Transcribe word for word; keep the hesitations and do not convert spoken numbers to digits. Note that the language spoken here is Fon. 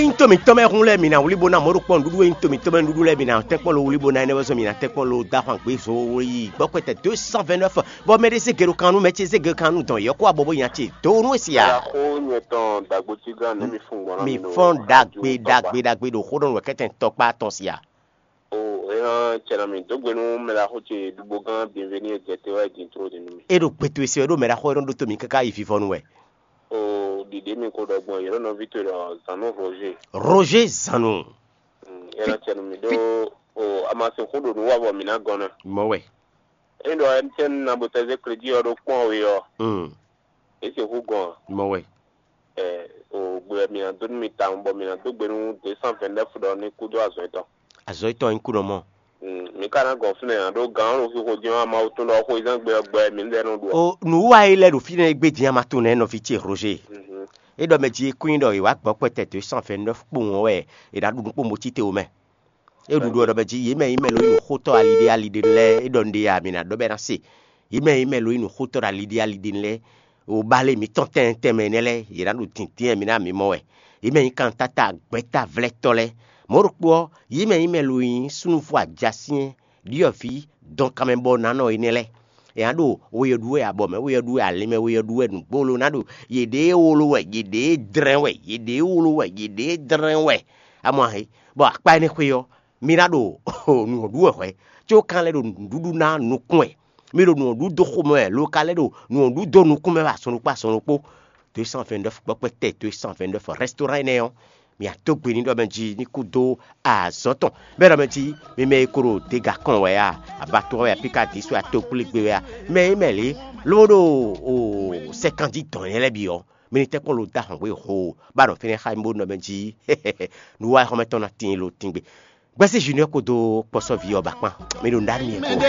Ényí to mǐtɔn mɛ hun lɛ́ɛ mǐ ná wlí bó ná mɔ̌ ɖokpɔ́ nǔɖuɖu, ényí to mǐtɔn mɛ nǔɖuɖu lɛ́ɛ mǐ ná tɛ́nkpɔ́n lo wlí bó ná énɛ́ vɔ́ zɔn mǐ ná tɛ́nkpɔ́n lo dó ahwan gbé zo yi gbɔ́kpɛtɛ deux cent vingt-neuf, bɔ mɛ ɖé zé gbe ɖo kan nú mɛ ce zé gbe kan nú dɔn yɔ́ kó abɔ bó nya ce dó nú e sia. Xó nyɛ tɔn dagbotígán nɛ́ mi fún gbɔn ná mi mi nɔ fɔ́n ɖagbe ɖagbe ɖagbe ɖo xó ɖɔ nú wɛ kɛ́tɛn tɔkpá tɔn sia. O, é hán cɛ nɔ mi dó gbe nú mɛ ɖaxó ce ɖugbógán Bienvenu e jɛ te wá e din tló din nú mi. É ɖo gbɛtɔ́ e se wɛ ɖo mɛ ɖaxó e nɔ ɖótó mǐ káká yi vivɔnu wɛ. O, ɖiɖě mi ko ɖɔ gbɔn yě ɖo nɔví towe ɖɔ Zanu Roger. Roger Zanu. Mm, é nɔ cɛ nɔ mi ɖó o amasin xó ɖo nǔ wa bɔ mǐ ná gɔn ná. Mɔ wɛ. É ɖɔ M T N na bo tɛ zé kléjí ɔ́ ɖó kpɔ́n we ɔ́, Mm, é sixú gɔn a? Mɔ wɛ. Ɛ, o gbe wɛ mǐ ná dó nú mi tawun bɔ mǐ ná dó gbe nú deux cent vingt-neuf ɖɔ ní kú dó azɔ̌ yětɔn. Azɔ̌ yětɔn nyí kúnɔ mɔ. Mm, mǐ ka ná gɔn fínɛ́ ǎ ɖó gǎn ɔ́ ɖo xixo din ɔ́, Mawu tɔn ɖɔ xweyǐzán gbe ɔ́ gbɔ wɛ mǐ lɛ́ nɔ ɖu ɔ. O nǔ wa e lɛ ɖo fínɛ́ e gbé din ama tɔn nɛ́ nɔví ce Roger. Mhm. É ɖɔ mɛ jí é kún nyí ɖɔ è wǎ gbɔ̌ kpɛtɛ deux cent vingt-neuf kpowun ɔ́ wɛ è nǎ ɖu nǔ kpó motíte wǒ mɛ. É ɖu ɖu ɔ́ ɖɔ mɛ jí yě mɛ nyí mɛ lo nyí nǔxótɔ́ aliɖé aliɖé lɛ́ɛ é ɖɔ un ɖe a mǐ ná ɖɔ bɔ é ná se. Yě mɛ nyí mɛ lo nyí nǔxótɔ́ aliɖé aliɖé lɛ́ɛ, o balé mǐtɔn tɛnmɛ tɛnmɛ énɛ́ lɛ́ɛ, yě ná ɖo dǐndín mǐ ná mǐ mɔ wɛ. Yě mɛ nyí kantáta gbɛ̌ta vlɛ́tɔ́ lɛ́ɛ. Mɔ̌ ɖokpó ɔ́, yě mɛ nyí mɛ lo nyí súnnu fó ajasyɛ́n ɖyɔ̌vǐ dɔnkanmɛbɔnánɔ énɛ́ lɛ́ɛ. È nǎ ɖo we ɔ́ ɖu wɛ abɔ mɛ, we ɔ́ ɖu wɛ alin mɛ, we ɔ́ ɖu wɛ nǔgbó lo ná ɖo yěɖée wolo wɛ, yěɖée dlɛ́n wɛ, yěɖée wolo wɛ, yěɖée dlɛ́n wɛ. Amɔ ahe, bɔ akpá énɛ́ xwé ɔ́, mi ná ɖo nǔ ɔ́ ɖu wɛ hwɛ̌, có kan lɛ́ ɖo nǔɖuɖu ná nukún wɛ. Mi ɖo nǔ ɔ́ ɖu dó xomɛ wɛ, lo ka lɛ́ ɖo nǔ ɔ́ ɖu dó nukún mɛ wɛ azɔn ɖokpó azɔn ɖokpó. Deux cent vingt-neuf gbɔkpɛ́ tɛ deux cent vingt-neuf restaurant énɛ́ ɔ́, mi adó gbe ní ɖɔ mɛ jí ní kú dó azɔ̌ tɔn. Bɛ́ ɖɔ mɛ jí mi mɛ e ko ɖo dega kɔn wɛ a, abatɔ wɛ a, pika dísú a, tokplégbé wɛ a, mɛ e mɛ lě ló ɖo o sɛkanjí dɔn nyɛ lɛ́ɛ bǐ ɔ́, mi ní tɛ́nkpɔ́n lo dó ahɔ̌ngbé ho, bá nɔ fínɛ́ xá mi bó nɔ mɛ jí nǔ wa xɔmɛ tɔn ná tín lo tín gbe. Gbɛ́sí Junior kpódó kpɔ́sɔ́ví ɔ́ ba kpán, mi ɖo nǔɖé mi ɛ kpó.